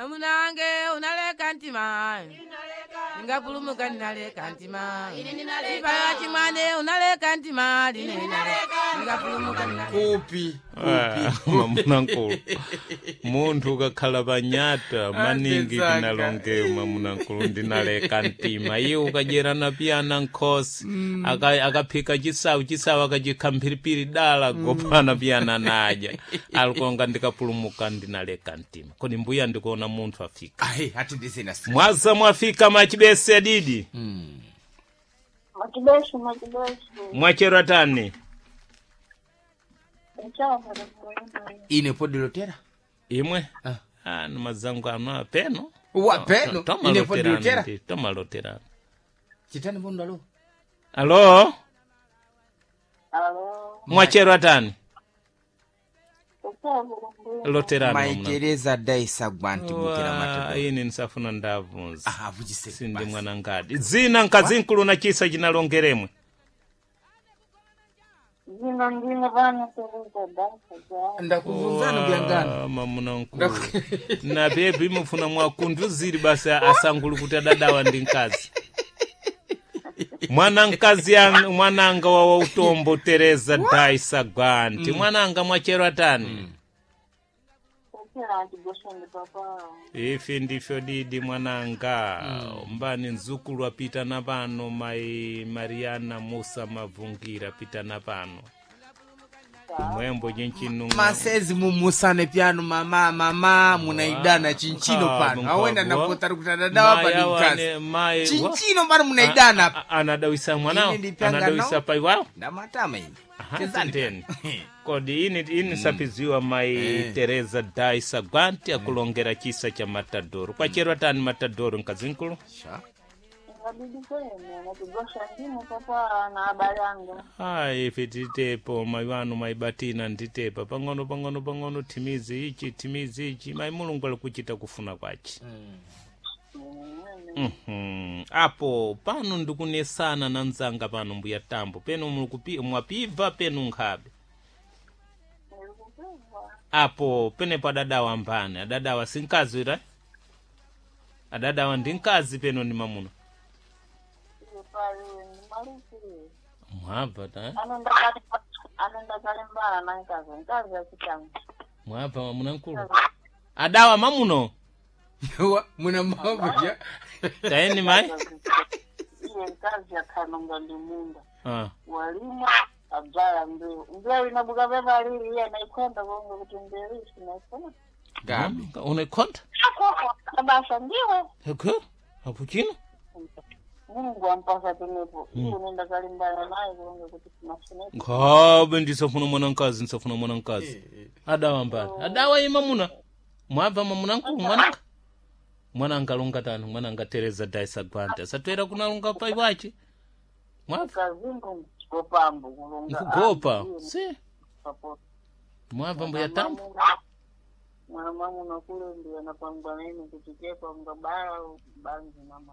Mamuna wange unaleka ntima, ningapulumuka ninaleka ntima. Ibaya chimwane unaleka ntima, ningapulumuka ninaleka. Kupi? Ah, mamunankulu, munthu ukakhala panyata maningi Andenzanga. tinalongeyo mamunankulu ndinaleka mtima iye ukadyerana piyana nkhosi akaphika chisawu chisawu akachikha mphiripiri dala gopana piyana nadya alikonga ndikapulumuka ndinaleka mtima. Kodi mbuya ndikuona munthu afika. Ayi, ati ndizina. Mwaza mwafika machibese adidi. Machibeshi, machibeshi. Mwachero tani. Ine podilotera. Imwe. Ah. Anu mazangu anu apeno. Wa peno ine podilotera. Tomaloterana. Chitani vondo alo. Alo. Alo. Mwachero atani. Kuchava. Loterana. Maitereza daisa gwanti bukira matadoro. Ine nsafuna ndavunza. Aha, vujise. Sindi mwana ngadi dzina nkazinkulu na chisa chinalongeremwe. Zino ndine vana Tereza Daisa ja. Ndakuvunzana kuyangana. Wa, mamuna nkulu na bebi imufuna mwakunduziri basi asangulu kuti adadawa ndi mkazi mwana mkazi mwananga wa utombo Tereza Daisa Gwanti. Mwananga mwachero atani. Kuchira antigoshende papa. Ifi ndifyo didi mwananga. Mbani nzukulu apita na pano mai Mariana Musa Mavungira pita na pano mwembo chinchinu. Masezi mumusane pyano mama mama munaidana chinchino pano awenda napota kuti adadawa pa ndi mkazi chinchino pano munaidana apa. Anadawisa mwanawo. Ine ndipyanga Anadawisa nawo. pai wawo. Ndamatama ine. Aha, Chezani. tendeni. Kodi ini sapiziwa mai Tereza Daisa Gwanti akulongera chisa cha matadoro kwachero atani matadoro nkazinkulu. Sha. Ngabidi kwene, matigosha ndine papa na habari yangu. Ayi, ife titepo mai wanu maibatina nditepa pang'ono pang'ono pang'ono thimizi ichi thimizi ichi mai Mulungu ali kuchita kufuna kwace. Apo pano ndikunesana na mzanga pano mbuya tambo penu mwapibva penu nkhabe. Nilikupiva. Apo penepo adadawa mbani adadawa sinkazi ira adadawa ndi mkazi peno ndi mamuna. Iye pali ni maliki. Mwabva ta. Anenda kalembana na nkazi, nkazi ya chitangu. Mwabva mamuna nkulu adawa mamuno. Wa, muna mambo ya. Taeni mai. Iye nkazi yakhanonga ndi munda. Ah. Walima abzala mbeu. Mbeu inabuka pepa lili iye naikwenda konge kuti mbeu isi naifuna. Gabi. Unaikonta. Kabasa ndiwe. Eke apo chino. Mulungu ampasa tenepo. Iye nenda kalimbana naye konge kuti sinafune. Nkhabe ndisafuna mwana mkazi ndisafuna mwana mkazi adawa mbali adawa ima muna mwabva mamuna nkulu mwananga mwananga lunga tani mwananga Tereza Daisa Gwanta satwera kunalunga pai wache mwabva. Kazingu ngopambo kulonga. Nkugopa si Papo. mwabva mbuya tambo. Mwana mwangu nakule ndiye anapangwa nini kuti chekwa ngabala banzi mama.